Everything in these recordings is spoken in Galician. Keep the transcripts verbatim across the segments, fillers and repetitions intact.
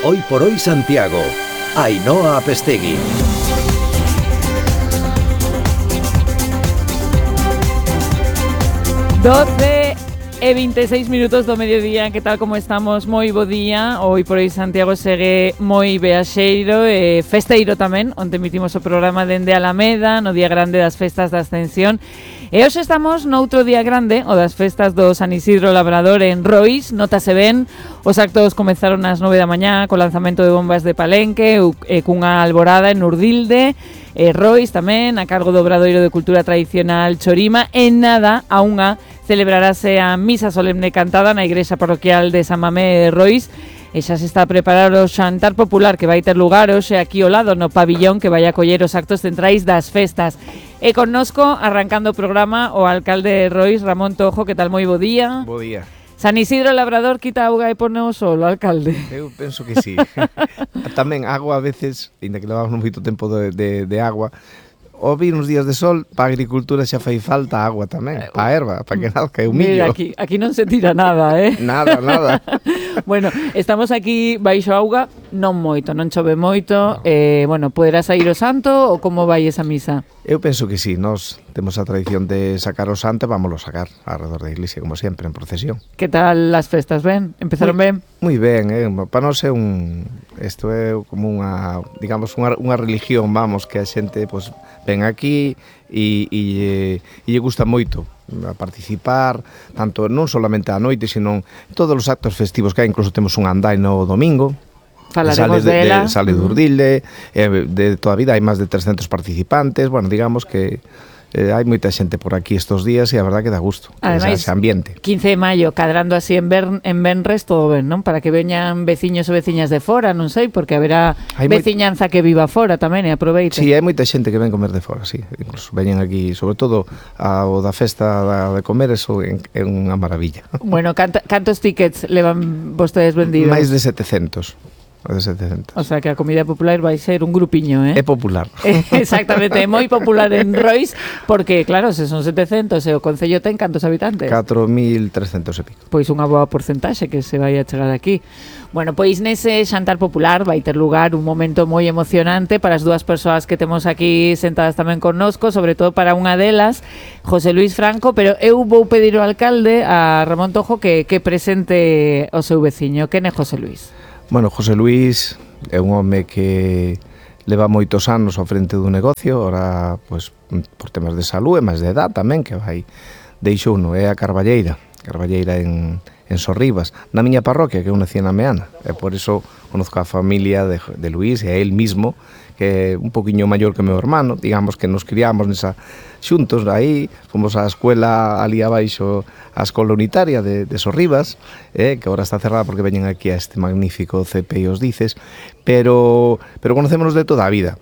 Hoy por hoy Santiago. Ainhoa Apestegui. doce e veintiséis minutos do mediodía, que tal como estamos? Moi bo día. Hoy por hoy Santiago segue moi beaxeiro e festeiro tamén, onde emitimos o programa dende Alameda, no día grande das festas da Ascensión. E hoxe estamos noutro día grande, o das festas do San Isidro Labrador en Rois. Notase ben, os actos comenzaron ás nove da mañá co lanzamento de bombas de Palenque e cunha alborada en Urdilde, e Rois tamén, a cargo do Obradoiro de Cultura Tradicional Chorima. En nada, a unha celebrarase a misa solemne cantada na igrexa parroquial de San Mamé de Rois, e xa se está a preparar o xantar popular que vai ter lugar hoxe aquí ao lado no pabillón que vai acoller os actos centrais das festas. E connosco, arrancando o programa, o alcalde de Rois, Ramón Tojo. Que tal? Moi bo día. Bo día. San Isidro Labrador quita auga e pone o solo, alcalde? Eu penso que sí. Tamén agua a veces, ainda que levamos moito tempo de, de, de agua, o vir uns días de sol, para a agricultura xa fai falta agua tamén, para a erva, para que nazca o millo. Mira, aquí, aquí non se tira nada, eh? Nada, nada. Bueno, estamos aquí baixo auga, non moito, non chove moito. No. Eh, bueno, poderá sair o santo ou como vai esa misa? Eu penso que sí, nós temos a tradición de sacar o santo e vámoslo sacar alrededor da iglesia, como sempre, en procesión. Que tal as festas, ben? Empezaron muy, ben? Moi ben, eh? Para nós é un... Isto é como unha, digamos, unha, unha religión, vamos, que a xente, pues, ven aquí e, e, e lle gusta moito a participar, tanto non solamente á noite, sino en todos os actos festivos que hai. Incluso temos un andai no domingo. Falaremos sale de, dela. De, sale de Urdilde, eh, de toda a vida hai máis de trescentos participantes. Bueno, digamos que eh, hai moita xente por aquí estos días e a verdad que dá gusto. Ademais, ese ambiente. quince de maio, cadrando así en, Bern, en Benres, todo ben, non? Para que veñan veciños ou veciñas de fora, non sei, porque haberá hai veciñanza moi... que viva fora tamén e aproveite. Sí, hai moita xente que ven comer de fora, sí. Incluso veñen aquí, sobre todo a, o da festa da, de comer, eso é, é unha maravilla. Bueno, canta, cantos tickets levan vostedes vendidos? Máis de setecentos. De setecentos. O sea que a comida popular vai ser un grupiño, eh? É popular. Exactamente, é moi popular en Rois, porque claro, se son setecentos e o concello ten cantos habitantes? catro mil trescentos e pico. Pois unha boa porcentaxe que se vai a chegar aquí. Bueno, pois nese xantar popular vai ter lugar un momento moi emocionante para as dúas persoas que temos aquí sentadas tamén connosco, sobre todo para unha delas, José Luis Franco, pero eu vou pedir ao alcalde, a Ramón Tojo, que, que presente o seu veciño. Quen é José Luis? Bueno, José Luis é un home que leva moitos anos ao frente do negocio, ora, pois, por temas de salud e máis de edad tamén, que vai deixou uno, é a Carballeira, Carballeira en, en Sorribas, na miña parroquia, que eu nací na Meana, e por iso conozco a familia de, de Luis e a él mismo, que é un poquinho maior que meu hermano, digamos que nos criamos nesa xuntos aí, fomos á escuela ali abaixo, a escola unitaria de, de Sorribas, eh, que agora está cerrada porque veñen aquí a este magnífico C P I os dices, pero, pero conocémonos de toda a vida.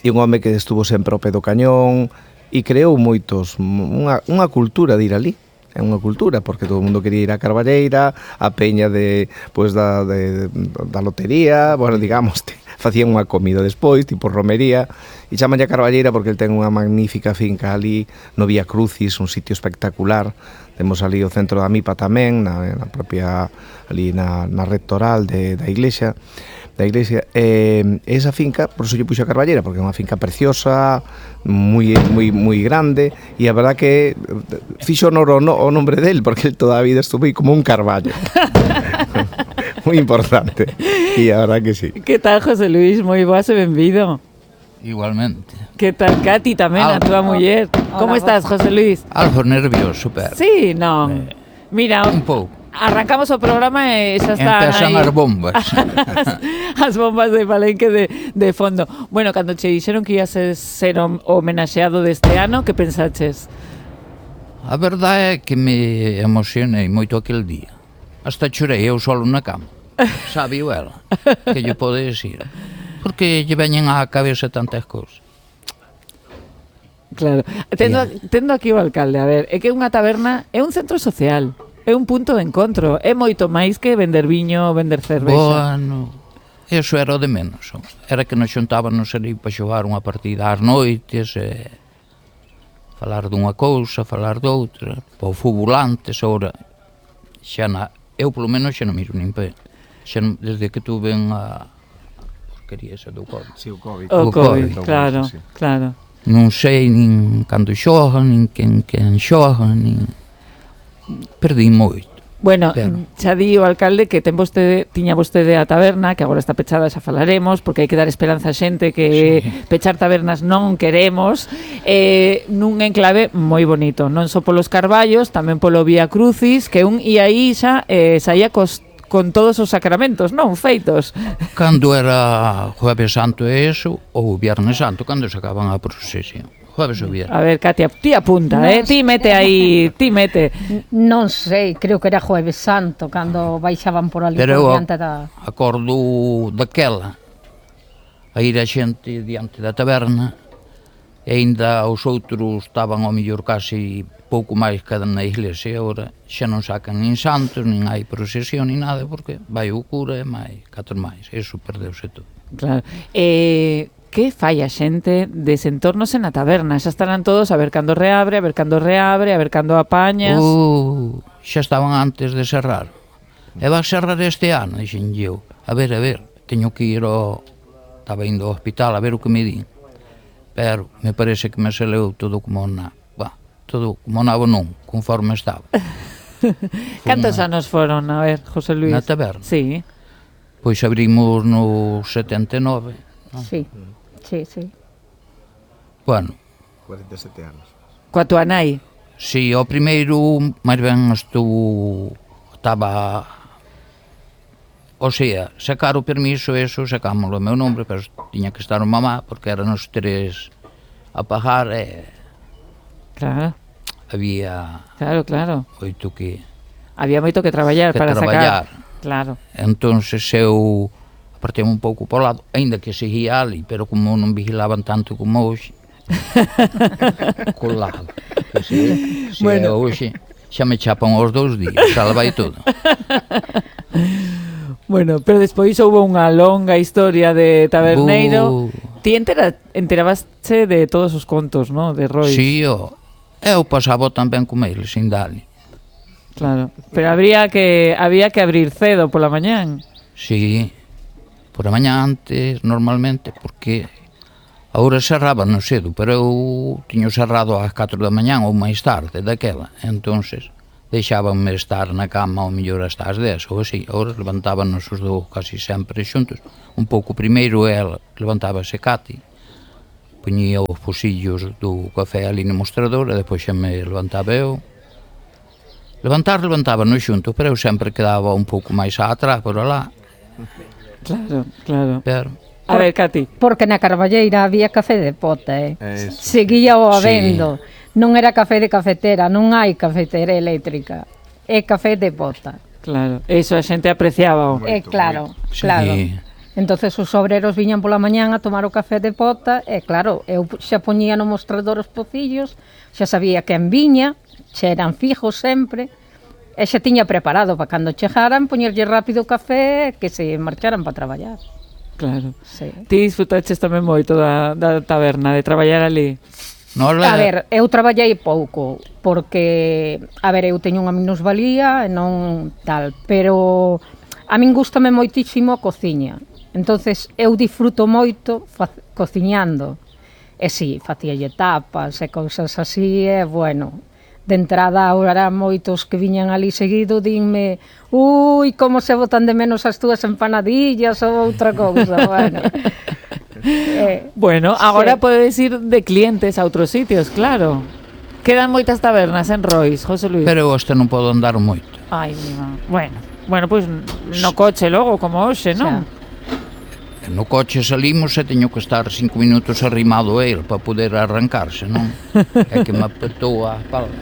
E un home que estuvo sempre ao pé do cañón e creou moitos, unha, unha cultura de ir ali. É unha cultura, porque todo o mundo quería ir a Carballeira, a peña de, pues, da, de, da lotería, bueno, digamos, te, facían unha comida despois, tipo romería, e chamanlle a Carballeira porque el ten unha magnífica finca ali no Vía Crucis, un sitio espectacular. Temos ali o centro da Mipa tamén, na, na propia, ali na, na rectoral de, da iglesia, da iglesia, e eh, esa finca, por iso lle puxo a Carballeira, porque é unha finca preciosa, moi moi moi grande, e a verdad que fixo honor o, no, o nombre del, porque el toda a vida estuvo aí como un carballo. Moi importante, e a verdad que sí. Que tal, José Luis? Moi boas e benvido. Igualmente. Que tal, Katy, tamén, a túa muller? Como estás, José Luis? Algo nervioso, pero... Sí, non. Eh, Mira, un pouco. Arrancamos o programa e xa están Empezan aí as bombas. as, as bombas de Palenque de, de fondo. Bueno, cando che dixeron que ias ser, ser homenaxeado deste ano, que pensaches? A verdade é que me emocionei moito aquel día. Hasta chorei eu solo na cama. Sabe ela, que lle pode decir. Porque lle veñen á cabeza tantas cousas. Claro. Tendo, tendo aquí o alcalde, a ver, é que unha taberna é un centro social. É un punto de encontro, é moito máis que vender viño ou vender cervexa. Bueno, eso era o de menos. Era que nos xuntábamos ali para xogar unha partida ás noites, e falar dunha cousa, falar doutra, para o fútbol antes, ora xa na, eu polo menos xa non miro nin pé. xa, non- desde que tuve a porquería esa do Covid. Sí, o Covid. O O Covid, Covid, claro, sí. claro. Non sei nin cando xogan, nin quen, quen xoga, nin... Perdí moito. Bueno, Pero- xa di o alcalde que ten vostede, tiña vostede a taberna, que agora está pechada, xa falaremos, porque hai que dar esperanza a xente que sí. Pechar tabernas non queremos, eh, nun enclave moi bonito, non só polos carballos, tamén polo Vía Crucis, que un ia aí xa eh, saía cos, con todos os sacramentos, non? Feitos. Cando era Jueves Santo e eso, ou Viernes Santo, cando sacaban a procesión. Jueves ou Viernes. A ver, Katia, ti apunta, Non eh? Ti mete aí, ti mete. Non sei, creo que era Jueves Santo cando baixaban por ali Pero por eu diante da... acordo daquela, a ir a xente diante da taberna, e ainda os outros estaban ao mellor casi pouco máis que na iglesia, e agora xa non sacan nin santos, nin hai procesión, nin nada, porque vai o cura e máis, catro máis, eso perdeuse todo. Claro. Eh, que fai a xente desentornos na taberna? Xa estarán todos a ver cando reabre, a ver cando reabre, a ver cando apañas. Uh, xa estaban antes de cerrar. E va a cerrar este ano, dixen eu. A ver, a ver, teño que ir ao... Estaba indo ao hospital a ver o que me di. Pero me parece que me saleu todo como na... Bah, todo como nabo non, conforme estaba. Cantos anos foron, a ver, José Luis? Na taberna? Sí. Pois abrimos no setenta e nove. Sí, sí, sí. Bueno, cuarenta e sete anos. Coa tua nai. si o primeiro, máis ben estuvo, estaba, o sea, sacar o permiso, eso, sacámoslo o meu nombre, pero tiña que estar o mamá, porque eran os tres a pagar, e Claro, había claro, claro. oito que... Había moito que traballar Que para traballar. sacar. Claro. Entonces eu apartei un pouco para o lado, aínda que seguía ali, pero como non vigilaban tanto como hoxe, colado. Que se, se bueno. É hoxe, xa me chapan os dous días, xa vai todo. Bueno, pero despois houve unha longa historia de taberneiro. Uh. Ti entera, enterabaste de todos os contos, ¿no? De Roy. Si, o, eu pasaba tamén con ele, sin dali. Claro, pero habría que había que abrir cedo pola mañán. Si, por a mañá antes, normalmente, porque agora cerraban no cedo, pero eu tiño cerrado ás catro da mañán ou máis tarde daquela, entonces deixábanme estar na cama ao mellor hasta as dez ou así. Agora levantábanos os dous casi sempre xuntos, un pouco primeiro ela levantábase Cati, poñía os posillos do café ali no mostrador e depois xa me levantaba eu. Levantar, levantábanos xuntos, pero eu sempre quedaba un pouco máis atrás por alá. Claro, claro. Pero A ver, Cati. Porque na Carballeira había café de pota, eh? Es... Seguía o Sí. habendo. Non era café de cafetera, non hai cafetera eléctrica. É café de pota. Claro, eso a xente apreciaba. É Moito, claro, Sí. claro. Entonces os obreros viñan pola mañán a tomar o café de pota e claro, eu xa poñía no mostrador os pocillos, xa sabía quen viña, xa eran fijos sempre, e xa tiña preparado para cando chegaran poñerlle rápido o café e que se marcharan para traballar. Claro. Sí. Ti disfrutaches tamén moito da, da taberna, de traballar ali. Nola, A ver, eu traballei pouco, porque, a ver, eu teño unha minusvalía e non tal, pero a min gustame moitísimo a cociña. Entonces, eu disfruto moito fa- cociñando. E si, facíalle tapas e cousas así, e bueno, de entrada ahora moitos que viñan ali seguido dinme ui, como se botan de menos as túas empanadillas ou outra cousa, bueno. Eh, Bueno, agora Sí. podes ir de clientes a outros sitios, claro. Quedan moitas tabernas en Rois, José Luis. pero eu este non podo andar moito. Ai, mima. Bueno, bueno, pois pues, no coche logo, como hoxe, non? E no coche salimos e teño que estar cinco minutos arrimado a ele para poder arrancarse, non? É que me apertou a pala.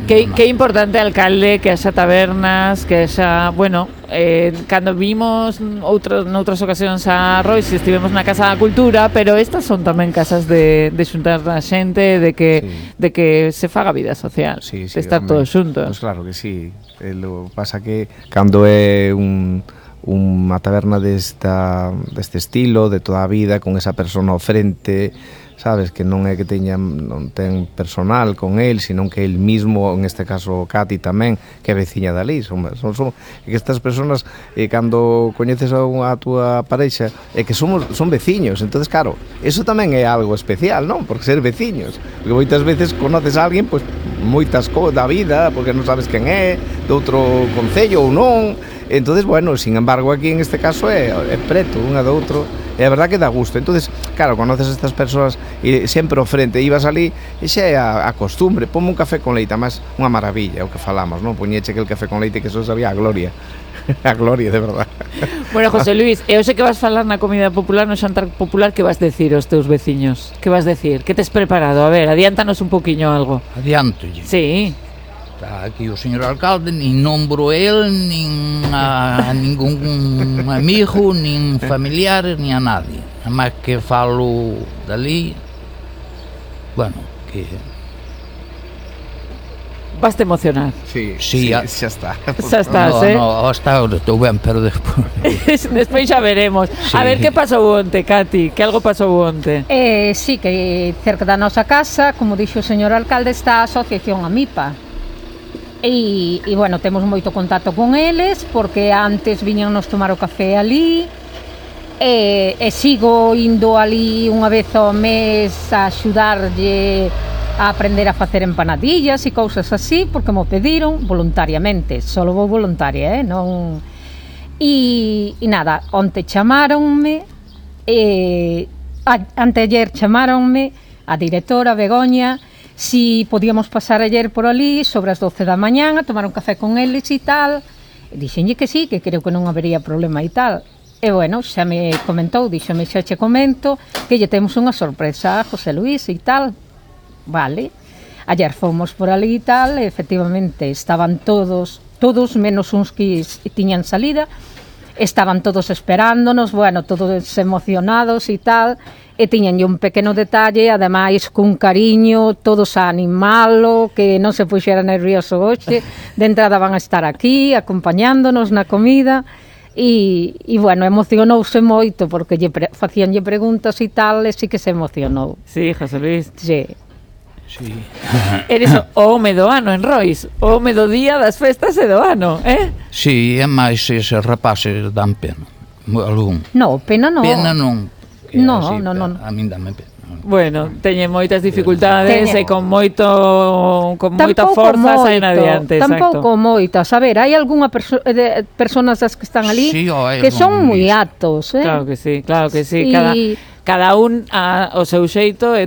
Que, que importante, alcalde, que haxa tabernas, que haxa, bueno, eh, cando vimos outros, noutras ocasións a Rois, estivemos na Casa da Cultura, pero estas son tamén casas de, de xuntar a xente, de que, Sí. de que se faga vida social, Sí, de sí, estar home. todos xuntos. Pois claro que sí. Eh, lo pasa que cando é un unha taberna desta deste estilo, de toda a vida, con esa persona ao frente, sabes, que non é que teña non ten personal con el, sino que el mismo, en este caso Cati tamén, que é veciña dali, son, son, son que estas personas eh, cando coñeces a, unha, a túa parexa é que somos son veciños, entonces claro, eso tamén é algo especial, non? Porque ser veciños, porque moitas veces conoces a alguén pois moitas cousas da vida, porque non sabes quen é, de outro concello ou non. Entonces, bueno, sin embargo, aquí en este caso é, é preto unha do outro. E a verdad que dá gusto. Entonces, claro, conoces a estas persoas e sempre ao frente, ibas ali e xa é a, a costumbre, ponme un café con leite, máis unha maravilla, o que falamos, non? Poñeche que el café con leite que eso sabía a gloria. A gloria, de verdad. Bueno, José Luis, eu sei que vas falar na comida popular, no xantar popular, que vas decir aos teus veciños? Que vas decir? Que tes preparado? A ver, adiántanos un poquinho algo. Adiantolle. Sí. Está aquí o señor alcalde, nin nombro el, nin a ningún amigo, nin familiar, nin a nadie. Nada máis que falo dali, bueno, que... Vas te emocionar. Sí, Sí, sí, a- xa está. Xa estás, no, eh? no, hasta ahora estou ben, pero despois... Despois xa veremos. Sí. A ver, que pasou onte, Cati? Que algo pasou onte? Eh, sí, que cerca da nosa casa, como dixo o señor alcalde, está a asociación AMIPA. E, e bueno, temos moito contacto con eles, porque antes viñanos tomar o café ali, e, e sigo indo ali unha vez ao mes a axudarlle a aprender a facer empanadillas e cousas así, porque mo pediron voluntariamente, solo vou voluntaria, eh? Non... E, e nada, onte chamáronme, e, a, anteayer chamáronme a directora Begoña si podíamos pasar ayer por ali sobre as doce da mañán a tomar un café con eles e tal, e dixenlle que sí, que creo que non habería problema e tal. E bueno, xa me comentou, díxome xa che comento que lle temos unha sorpresa a José Luis e tal. Vale. Ayer fomos por ali e tal, e efectivamente estaban todos, todos menos uns que tiñan salida, estaban todos esperándonos, bueno, todos emocionados e tal, e tiñanlle un pequeno detalle, ademais cun cariño, todos a animalo, que non se puxera nervioso hoxe, de entrada van a estar aquí, acompañándonos na comida, e, e bueno, emocionouse moito, porque lle pre, facíanlle preguntas e tal, e sí que se emocionou. Sí, José Luis. Sí. Sí. Eres o home do ano en Rois, o home do día das festas e do ano, eh? Sí, é máis eses rapaces dan pena. Algún. No, pena non. Pena non. Que No, así, no, no. A min dame pena. Bueno, teñen moitas dificultades Teñen- e con moito con moita Tampouco forza saen moito, adiante, tampouco exacto. moitas. A ver, hai algunha perso de personas das que están ali Sí, o hai que son algún moi listo. atos, eh? Claro que sí, claro que sí, Y- cada cada un a, o seu xeito e